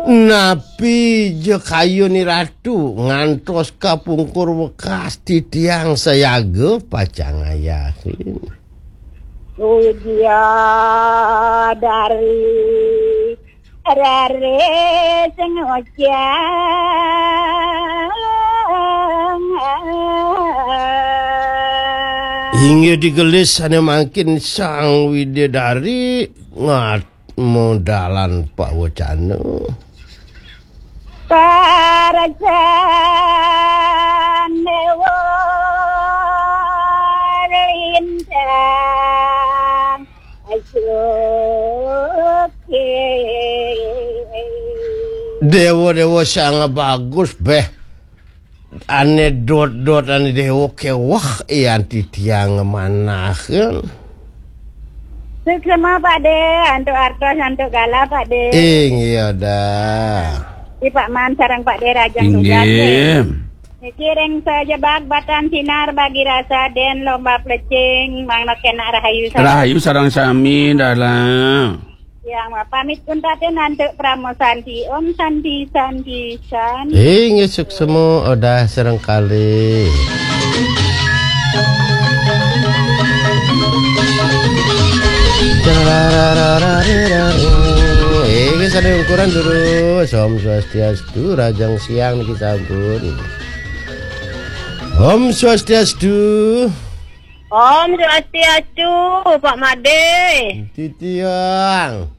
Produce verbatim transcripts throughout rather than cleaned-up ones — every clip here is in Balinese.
Napi ja kayun Ni Ratu ngantos ka pungkur wekas, titiang sayaga pacang ngayahin. Puja dari rare sing ngocang. Inggih digelis sané mangkin Sang Widadari ngat modalan pawecana. Parajan Dewa Lintang Suki. Déwa-déwa sang bagus, béh. Ané dot-dot ané déwa kéweh, yan titiang ngamanahin. Suksma, Pak Dé, antuk artos, antuk galah, Pak Dé. Inggih dah. Di Pak Man sareng Pak Dé rahajeng tugas, Dé. Inggih. Niki ring sajebag batan sinar bagi rasa dén lomba plecing, mangda kénak rahayu sareng. Rahayu sareng sami, dalang. Yang pamit pun tatin antuk Parama Santi. Om Santi, Santi, Santi. Inggih suksma, Odah sareng kalih. Inggih sané ungkuran durus. Om Swastiastu, rahajeng siang niki sampun. Om Swastiastu. Om Swastiastu, Pak Madé. Titiang.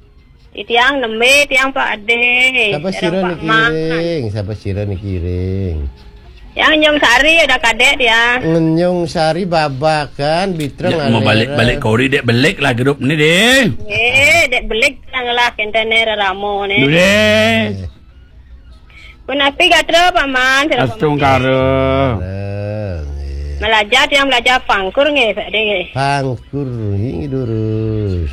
Titiang nembé, tiang Pak Adé. Sapa sira niki ring? Sapa sira niki ring? Yang Nyung Sari ada kadék tiang. Nyung Sari babakan, bitreng. Ya, mau balik-balik kori dék belik lah grup ni, Dé. Eh, dék belik tiang lah, kénten né rerama né. Duh, Dé. Eh. Punapi gatra, Pak Man, sareng Pak Man. Astungkara. Malajar, tiang malajar pangkur nggih, Pak Dé nggih. Pangkur nggih durus.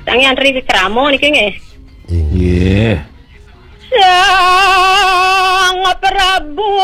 Tiang nyantri di krama niki nggih. Inggih. Sang Prabu.